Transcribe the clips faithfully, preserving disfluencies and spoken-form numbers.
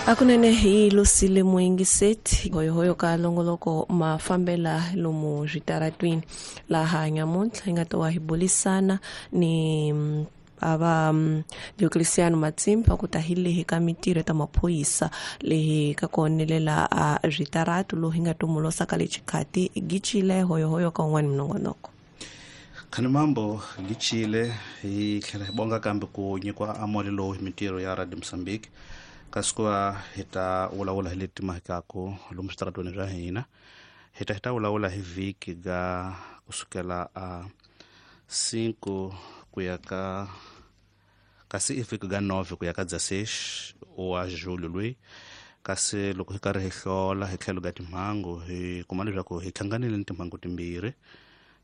Akunene hi Lucile Muingiseti hoyohoyo ka longoloko mafambela lomu switaratwini laha nyamuntlha hi nga ta wa hi bulisana ni ava Diocleciano Matsimba ku ta hi lehi ka mitirho ta maphorisa lehi ka konelela a switaratu lowu hi nga tumulosa ka le xikhati gichile hoyohoyo ka un'wana minongonoko. Khani mambo gichile hi tlhela hi bonga kambe ku nyikiwa amole lowu hi mitirho ya Radio Mozambique kasi ku va hi ta vulavula hi leti mahikaku lomu switaratweni swa hina hi ta hi ta vulavula hi vhiki ga kusukela a cinco ku ya ka kasi i vhiki ga nove ku ya ka dezesseis wa julho loyi kasi loko hi karhi hi hlola hi tlhelo ga timhangu hi kuma leswaku hi hlanganile ni timhangu timbirhi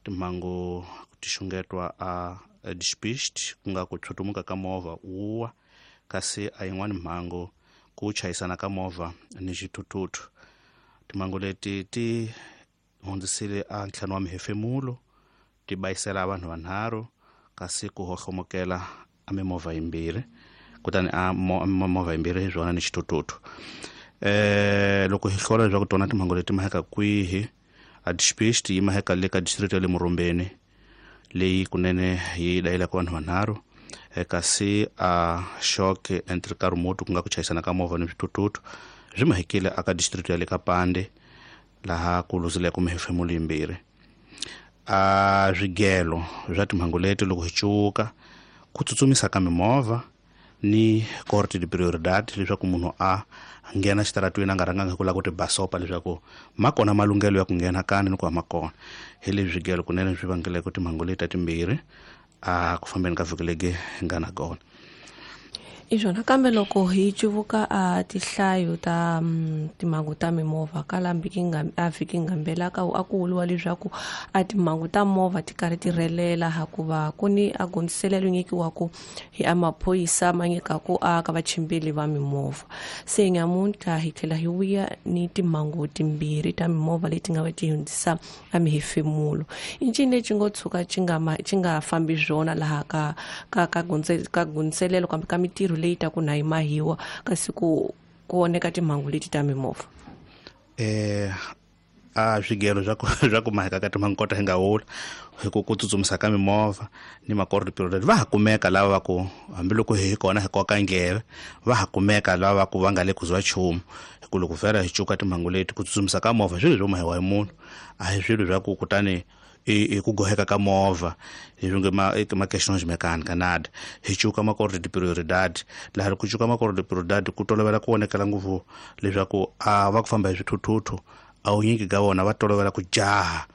timhangu ti xungetwa a despiste ku nga ku tshutumuka ka movha wuwa kasi a yin'wani mhangu ku chayisana ka movha ni xithuthuthu. Timhangu leti ti hundzisile a ntlhanu wa mihefemulo ti bayisela vanhu vanharhu kasi ku hohlomokela a mimovha yimbirhi kutani a movha yimbirhi hi swona ni xithuthuthu. Eh loko hi hlola leswaku tona timhangu leti maheka kwihi a despiste yi maheka le ka district ya le Murumbeni leyi kunene yi dayelaka vanhu vanharhu kasi a shock entre karumoto ku nga ku chayisana ka movha ni swithuthuthu swi mahekile aka district ya le ka Pande laha ku luzileke mihefemulo yimbirhi. A swigelo swa timhangu leti loko hi cuka ku tsutsumisa ka mimovha ni corte de prioridade leswaku munhu a nghena xitaratweni a nga rhanganga hi ku lava ku ti basopa leswaku ma kona malunghelo ya ku nghena kani ni ku ma kona hi leswi swigelo kunene swi vangeleke timhangu leti ta timbirhi a ku fambeni ka vhiki legi hi nga na kona. I swona kambe loko hi cuvuka a tihlayo ta timhangu ta mimovha ka laha a vhiki ngambela ka a ku vuriwa leswaku a timhangu ta movha ti karhi ti rhelela hikuva ku ni a gondziselelo nyikiwaku hi a maphorisa ma nyikaku a ka vachimbeli va mimovha. Se nyamuntlha hi tlhela hi vuya ni timhangu timbirhi ta mimovha leti nga va ti hundzisa a mihefemulo. I ncini lexi ngo tshuka xi nga xi nga fambi swona laha ka ka ka ka gondziselelo kambe ka mitirho leyi ta ku na yi mahiwa kasi ku ku oneka timhangu leti ta mimovha? Eh a swigelo swa ku swa ku maheka ka timhangu kota hi nga wula hi ku ku tsutsumisa ka mimovha ni makordo period va ha kumeka lava va ku hambiloko hi kona hi koka ndleve va ha kumeka lava va ku va nga le ku zwa nchumu hi ku loko vhela hi cuka timhangu leti ku tsutsumisa ka movha swilo swo mahiwa hi munhu a hi swilo swa ku kutani i ku goheka ka movha hi nge ma ma questions mecânica nada hi cuka makordo de prioridade laha ku cuka makordo de prioridade ku tolovela ku vonekela ngopfu leswaku a va ku famba hi swithuthuthu a wu nyingi ka vona va tolovela ku jaha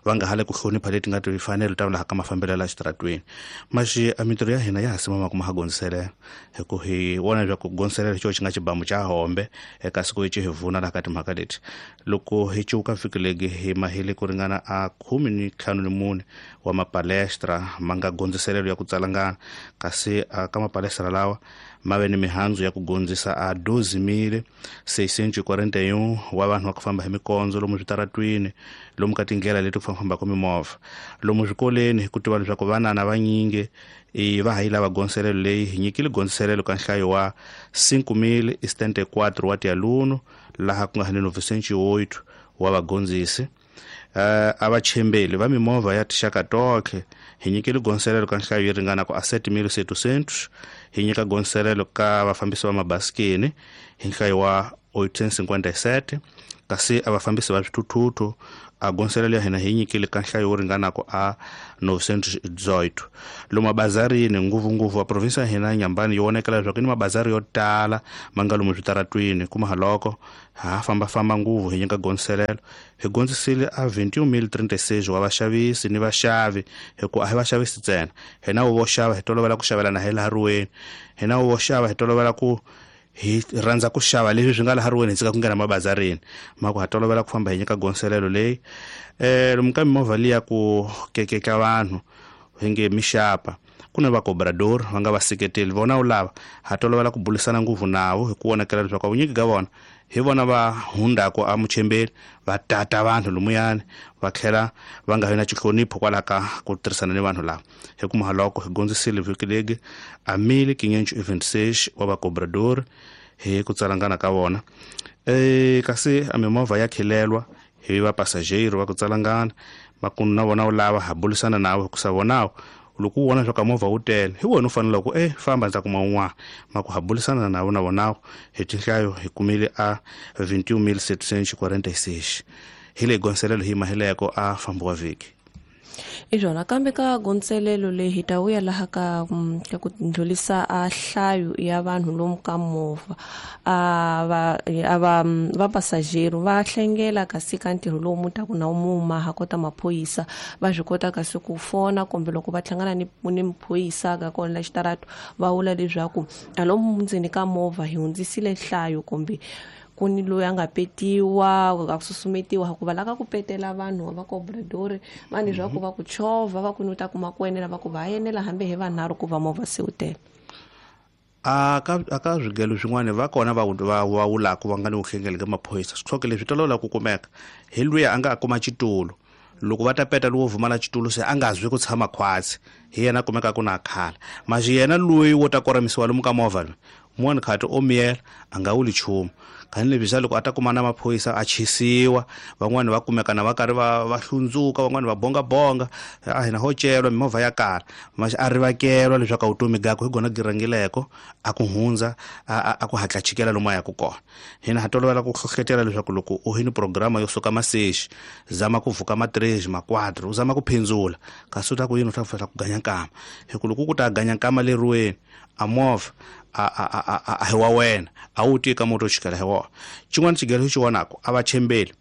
va nga hale ku hlonipha leti nga tifanelo ta laha ka mafambelo la xitaratweni. Maxi a mitirho ya hina ya ha simama ku ma ha gondziselela hi ku hi vona leswaku gondziselela xo xi nga xibamu xa hombe eka siku hi hi vuna laha ka timhaka leti. Loko hi cuka vhiki legi hi mahile ku ringana a khume ni ntlhanu ni mune wa mapalestra ma nga gondziselelo ya ku tsalangana kasi ka mapalestra lawa ma ve ni mihandzu ya ku gondzisa a doze mil seiscentos e quarenta e um wa vanhu va ku famba hi mikondzo lomu switaratwini lomu ka tindlela leti ku fambafambaka mimovha lomu swikoleni hi ku tiva leswaku vanana vanyingi i va ha yi lava gondziselelo leyi hi nyikile gondziselelo ka nhlayo wa cinco mil e setenta e quatro wa tialuno laha ku nga ni novecentos e oito wa vagondzisi. Uh, a vachembeli va mimovha ya tixaka tonkhe hi nyikile gondziselelo ka nhlayo yi ringana ku a sete mil setecentos hi nyika gondziselelo ka vafambisi va mabasikeni hi nhlayo wa oitocentos e cinquenta e sete kasi a vafambisi va swithuthuthu a gondziselelo ya hina hi nyikile ka nhlayo wo ringana ku a novecentos e dezoito. Lomu mabazarini ngopfungopfu a provinsi ya hina Nyambani yi vonekela leswaku ni mabazari yo tala ma nga lomu switaratwini kuma haloko ha fambafamba ngopfu hi nyika gondziselelo hi gondzisile a vinte e um mil trinta e seis wa vaxavisi ni vaxavi hi ku a hi vaxavisi ntsena hina vo xava hi tolovela ku xavelana hi laha riweni hina vo xava hi tolovela ku hi rhandza ku xava leswi swi nga laha riweni hi tshika ku nghena mabazarini ma ku ha tolovela ku famba hi nyika gondziselelo leyi. Eh lomu ka mimovha liya ku kekeka vanhu hi nge mixapa ku na vakobrador va nga vaseketeli vona wu lava ha tolovela ku bulisana ngopfu navo hi ku vonakela leswaku vunyingi ka vona hi vona va hundzaka a muchembeli va tata vanhu lomuyani va tlhela va nga vi na xihlonipho kwalaho ka ku tirhisana ni vanhu lava. Hi ku mahaloko hi gondzisile vhiki legi a mil quinhentos e vinte e seis wa vakobrador hi ku tsalangana ka vona. Eh kasi a mimovha ya khilelwa hi va passageiro va ku tsalangana makunu na vona u lava ha bulisana nawe ku sa vonawo loko u vona swa ka movha wu tele hi wena u fanele ku eh famba ndza kuma un'wana maku ha bulisana na vona vonawo hi tinhlayo hi kumile a vinte e um mil setecentos e quarenta e seis hi le gonselelo hi mahileko a fambo wa vhiki. Izvona kambe ka gonselelo leyi hi ta vuya laha ka ka ku ndlulisa a hlayo ya vanhu lomu ka movha a va a va va passageiro va hlengela kasi ka ntirho lowu mu taku na muma ha kota maphorisa va swi kota kasi ku fona kumbe loko va hlangana ni ni maphorisa ka kona la xitarato va vula leswaku a lomu ndzeni ka movha hi hundzisile nhlayo kumbe ku ni loyi a nga petiwa a susumetiwa hikuva la ka ku petela vanhu va cobrador vanhu leswaku va ku chovha va ku ni ta kuma ku enela va ku va enela hambi hi vanharhu ku va movha se wu tele. A ka a ka swigelo swin'wana va kona va va va wulaku va nga ni vuhlengeli ka maphorisa switlhoke leswi tolola ku kumeka hi luya a nga kuma xitulu loko va ta peta lowo vumala xitulu se a nga zwi ku tshama khwatsi hi yena kumeka ku na khala maxi yena loyi wo ta koramisiwa lomu ka movha loyi mun'wana khati o miyela a nga wuli nchumu khani leswi swa loko a ta kuma na maphorisa a chisiwa van'wani va kumeka na va karhi va va hlundzuka van'wani va bongabonga a hina ho celwa mimovha ya kala maxi a rivakelwa leswaku a vutomi gakwe hi gona girangileko a ku hundza a ku hatla chikela lomu a yaku kona. Hina ha tolovela ku hlohletela leswaku loko u hini programa yo suka masexi zama ku vuka ma três ma quatro u zama ku phindzula kasi u ta ku yini u ta fela ku ganya nkama hi ku loko ku ta ganya nkama leriweni a movha a a a a hi wa wena a wu tika moto xikela hi wona. Xin'wana xigelo xi vonaka a va chembeli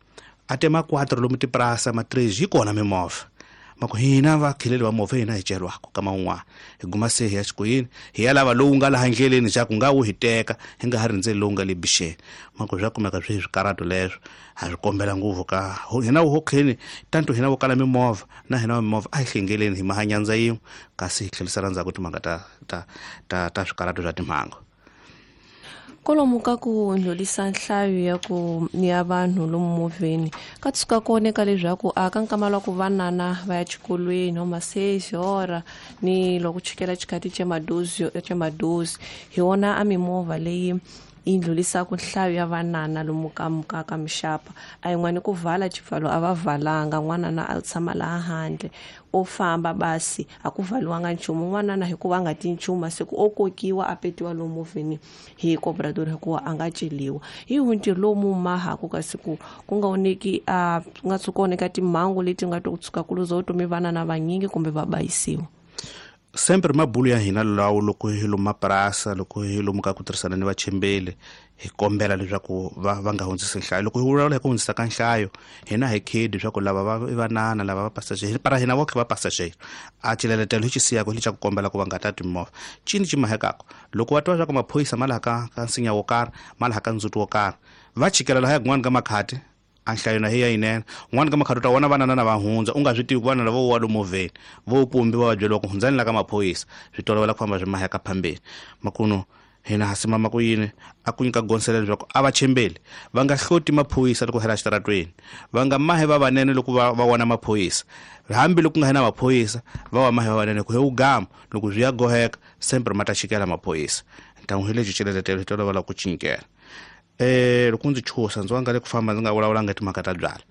a tema quatro lomu tiprasa ma três yi kona mimovha mako hina va khileli va movha hina hi celwako kama un'wana hi guma se hi ya xikoyini hi ya lava lowu nga laha ndleleni xa ku nga wu hi teka hi nga ha rindzeli lowu nga le bixeni mako swa kumeka swi swikarhato leswo ha swi kombela ngopfu ka hina wu hokheni tanto hina vo kala mimovha na hina va mimovha a hi hlengeleni hi mahanyandza yin'we kasi hi tlherisela ndzhaku timhaka ta ta ta ta swikarhato swa timhangu. Kolomu ka ku ndlulisa nhlayo ya ku ya vanhu lomu movheni ka tshuka kone ka leswaku a ka nkama lwa ku vanana va ya xikolweni o maseji ora ni loko chikela xikati xa madozi xa madozi hi wona a mimovha leyi yi ndlulisaka nhlayo ya vanana lomu ka ka ka mixapa a yin'wani ku vala xipfalo a va valanga n'wanana a tshama laha handle o famba basi a ku valiwanga nchumu n'wanana hikuva a nga ti nchumu masiku o kokiwa a petiwa lomu movheni hi cobrador hikuva a nga celiwa hi ntirho lowu mahaku kasi ku ku nga oneki a ku nga tshuka oneka timhangu leti nga to tshuka ku luza vutomi vanana vanyingi kumbe va bayisiwa. Sempre mabulu ya hina lawo loko hi lomu mapurasa loko hi lomu ka ku tirhisana ni vachembeli hi kombela leswaku va va nga hundzisi nhlayo loko hi vulavula hi ku hundzisa ka nhlayo hina hi khedi leswaku lava va i vanana lava va passageiro para hina votlhe va passageiro a xileletelo hi xi siyaka hi xa ku kombela ku va nga tati mimovha cini xi mahekaka loko va twa leswaku maphorisa ma laha ka ka nsinya wo karhi ma laha ka ndzhuti wo karhi va chikela laha kun'wana ka makhati a nhlayo na hi ya yinene un'wana ka makhati u ta vona vanana na va hundza u nga swi tivi ku vanana vo wa lomu movheni vo pumbiwa va byeriwa ku hundzani la ka maphorisa swi tolovela ku famba swi maheka phambeni makuno hina ha simama ku yini a ku nyika gonselela leswaku a va chembeli va nga hloti maphorisa loko hela xitaratweni va nga mahe va vanene loko va va vona maphorisa hambi loko nga hina maphorisa va wa mahe va vanene ku he ugama loko swi ya goheka sempre ma ta chikela maphorisa ntangu hi lexi xileletelo hi tolovela ku cinkela. Eh loko ndzi chusa ndzi wanga le ku famba ndzi nga vulavulanga timhaka ta byala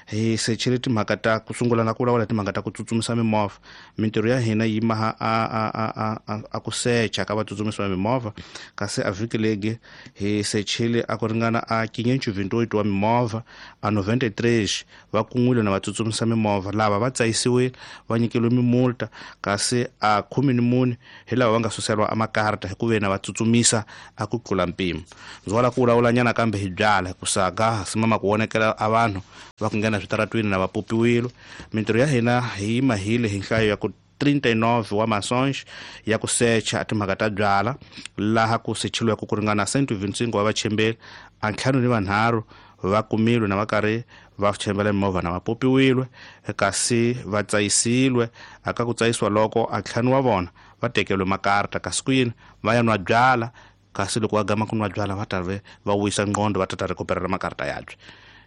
hi sechele timhaka ta ku sungula na ku vulavula timhaka ta ku tsutsumisa mimovha mintirho ya hina yi maha a a a a a ku secha ka vatsutsumisi va mimovha kasi a vhiki legi hi sechele a ku ringana a quinhentos e vinte e oito wa mimovha a noventa e três va kun'wile na vatsutsumisa mimovha lava va tsayisiwile va nyikeliwe mimulta kasi a khume ni mune hi lava va nga suseriwa a makarta hi ku ve na va tsutsumisa a ku tlula mpimo. Ndzi wala ku vulavula nyana kambe hi byala ku saga simama ku vonekela a vanhu va ku nghena switaratwini na va popiwile mintirho ya hina hi mahile hi nhlayo ya ku trinta e nove wa maçons ya ku secha timhaka ta byala laha ku sechiliweke ku ringana cento e vinte e cinco wa vachembeli a ntlhanu ni vanharhu va kumilwe na va karhi va chembela mimovha na va popiwile kasi va tsayisiwe aka ku tsayisiwa loko a ntlhanu wa vona va tekeriwe makarta kasi ku yini va ya nwa byala kasi loko va gama ku nwa byala va ta ve va wisa nqondo va ta ta recuperar makarta yabye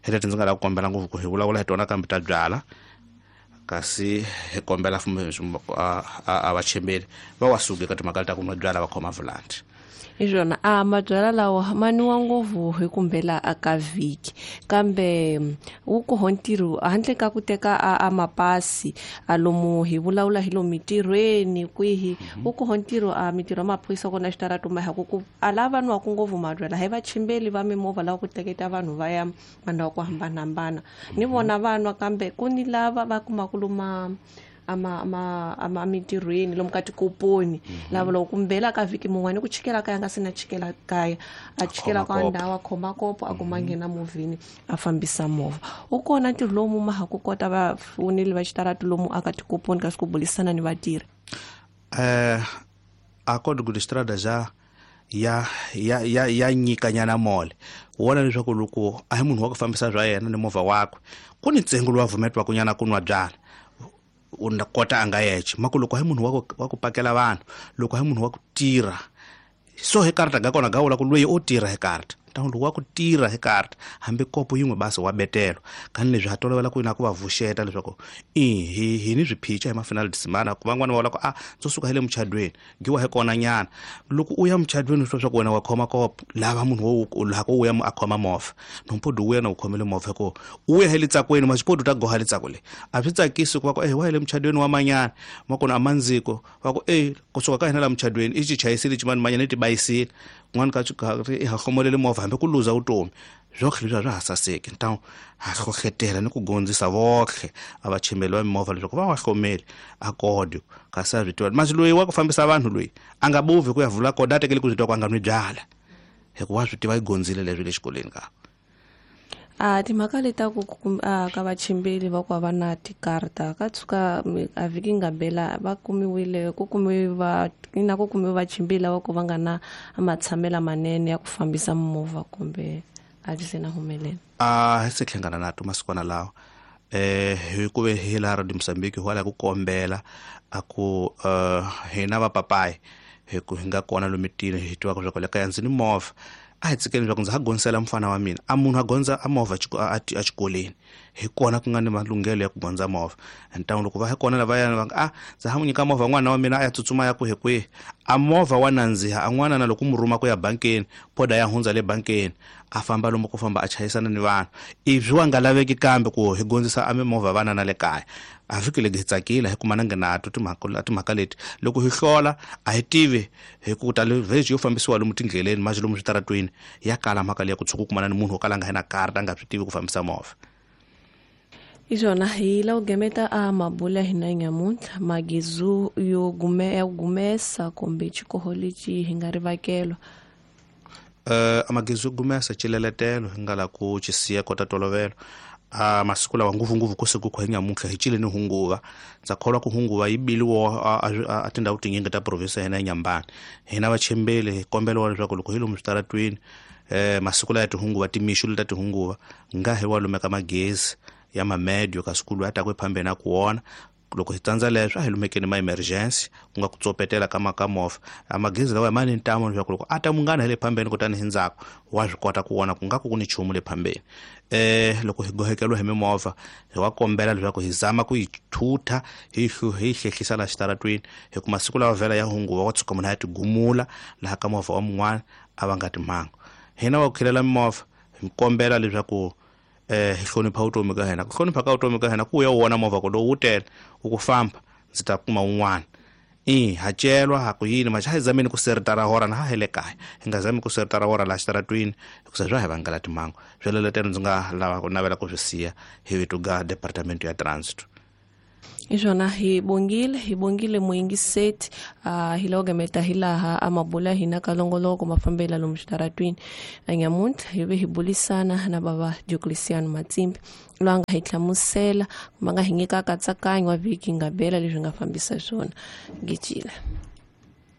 hi leti ndzi nga lava ku kombela ngopfu ku hi vulavula hi tona kambe ta byala kasi hi kombela a va chembeli va wa suka eka timhaka ta ku nwa byala va khoma volante. Hi swona a mabyalwa lawa ma nwiwa ngopfu hi kumbela aka vhiki kambe wu koho ntirho handle ka ku teka a, a mapasi a lomu hi vulavula hi lomu mitirhweni kwihi wu koho ntirho a mitirho ya maphorisa kona xitarato ma ku ku a lava nwaku ngopfu mabyalwa hi vachimbeli va mimovha lava ku teketa vanhu va ya mandhawu ku hambanahambana ni vona va nwa kambe ku ni lava va kumaka loma ama ama ama mitirhweni lomu ka tikoponi lava loko kumbela ka vhiki mun'wani ku chikela kaya nga se na chikela kaya a chikela ka ndhawu a khoma kopo a kuma nghena movheni a fambisa movha wu kona ntirho lowu mu ma ha ku kota vafoneli va xitarati lomu aka tikoponi kasi ku bulisana ni vatirhi eh a código de estrada já ya ya ya ya nyikanyana mole wona leswaku loko a hi munhu wa ku fambisa bya yena ni movha wakwe ku ni ntsengo lowu vumetiwaka nyana ku nwa byala u kota a nga yexe mako loko hi munhu wa ku wa ku pakela vanhu loko hi munhu wa ku tirha so hi karata ga kona ga vula ku loyi o tirha hi karata ntangu loko wa ku tirha hi karata hambi kopo yin'we basi wa betelo kani leswi ha tolovela ku na ku va vuxeta leswaku i hi hi ni swiphica hi mafinal de semana ku van'wana va vula ku a ndzo suka hi le muchadweni giwa hi kona nyana loko u ya muchadweni swi swa ku wena wa khoma kopo lava munhu wo loko u ya a khoma movha nompodi u ya na u khomele movha ko u ya hi le tsakweni maxipodi u ta goha le tsako le a swi tsakisi ku va ku eh wa hi le muchadweni wa manyana makona a mandziko va ku eh kusuka ka hina la muchadweni i xi chayisile ximani manyana i tibayisile kun'wana ka i ha hlomolele movha hambi ku luza vutomi swotlhe leswi a swa ha saseki ntawu ha hlohletela ni ku gondzisa votlhe a vachimbeli va mimovha leswaku va wa hlomeli a kodi kasi a swi tiva masi loyi wa ku fambisa vanhu loyi a nga bovi ku ya vula kodi a tekeli ku swi tiva ku a nga nwi byala hikuva wa swi tiva yi gondzile leswi le xikolweni ka a timhaka leta ku ka vachimbeli va ku va na tikarta ka tshuka a vhiki nga bela va kumiwile ku kumiwe va na ku kumiwe vachimbeli lava ku va nga na matshamelo manene ya ku fambisa movha kumbe a byi se na humelela a hi se hlangana na to masikwana lawa eh hi ku ve hi la Radio Mozambique hi wala ku kombela a ku hina va papayi hi ku hi nga kona lomitini hi tivaka swa ku le kaya ndzi ni movha a hi tsikeni leswaku ndzi ha gondzela mfana wa mina a munhu a gondza a movha a xikolweni hi kona ku nga ni malunghelo ya ku gondza movha ntangu loko va hi kona lavayana va nga a ndza ha n'wi nyika movha n'wana wa mina a ya tsutsuma ya kwihi kwihi a movha wa nandziha a n'wana na loko mu rhuma ku ya bankeni poda ya hundza le bankeni a famba lomu ku famba a chayisana ni vanhu ivi wa nga laveki kambe ku hi gondzisa a mimovha vana na le kaya a fikile hi tsakile hi kuma na nato timhaka timhaka leti loko hi hlola a hi tivi hi ku ta le vheji yo fambisiwa lomu tindleleni manje lomu switaratweni ya kala mhaka leyi ku tshuka ku kumana ni munhu wo kala nga hi na karata a nga swi tivi ku fambisa movha. Hi swona hi la ku gemeta a mabula hina nyamuntlha magizu yo gume ya gumesa kumbe xikoho lexi hi nga rivakelwa eh amagizu yo gumesa xileletelo hi nga la ku xisiya kota tolovelo a masiku lawa ngopfungopfu ku siku ku nyamuntlha hi cile ni hunguva ndza kholwa ku hunguva yi biliwa a tindhawu tinyingi ta province ya hina ya Nyambani hina vachimbeli hi kombela leswaku loko hi lomu switaratweni eh masiku laya tihunguva timixu leta tihunguva nga hi wa lumeka magezi ya mamedio ka sikulu ya ta ku phambeni ku wona loko hi tsandza leswi a hi lumekeni ma emergency ku nga ku tsopetela ka maka movha a magezi lawa ma ni ntamu leswaku loko a ta munghana hi le phambeni kutani hi ndzhaku wa swi kota ku vona ku nga ku ku ni nchumu le phambeni eh loko hi gohekeliwa hi mimovha hi wa kombela leswaku hi zama ku yi thutha hi hi hlehlisa la xitaratweni hi ku masiku lawa vhela ya hunguva wa tshuka munhu a ya tigumula laha ka movha wa mun'wana a va nga timhangu hina wa ku khilela mimovha hi kombela leswaku eh hi hlonipha vutomi ka hina ku hlonipha ka vutomi ka hina ku ya wona movha ku lowu wu tele u ku famba ndzi ta kuma wun'wana i ha celwa ha ku yini maxa hi zameni ku seritara hora na ha hi le kaya hi nga zami ku seritara hora laha xitaratwini hikusa swa hi vangela timhangu sweleletelo ndzi nga lava ku navela ku swi siya hi vito ga department ya transit. Hi swona hi bongile hi bongile muyingiseti uh, hi loko gemeta hi laha a mabula hina ka longoloko mafambela lomu xitaratwini nyamuntlha hi ve hi bulisana na bava Diocleciano Matsimbi loyi a nga hi hlamusela kumbe a nga hi nyika nkatsakanyo wa vhiki nga bela leswi nga fambisa swona gicile.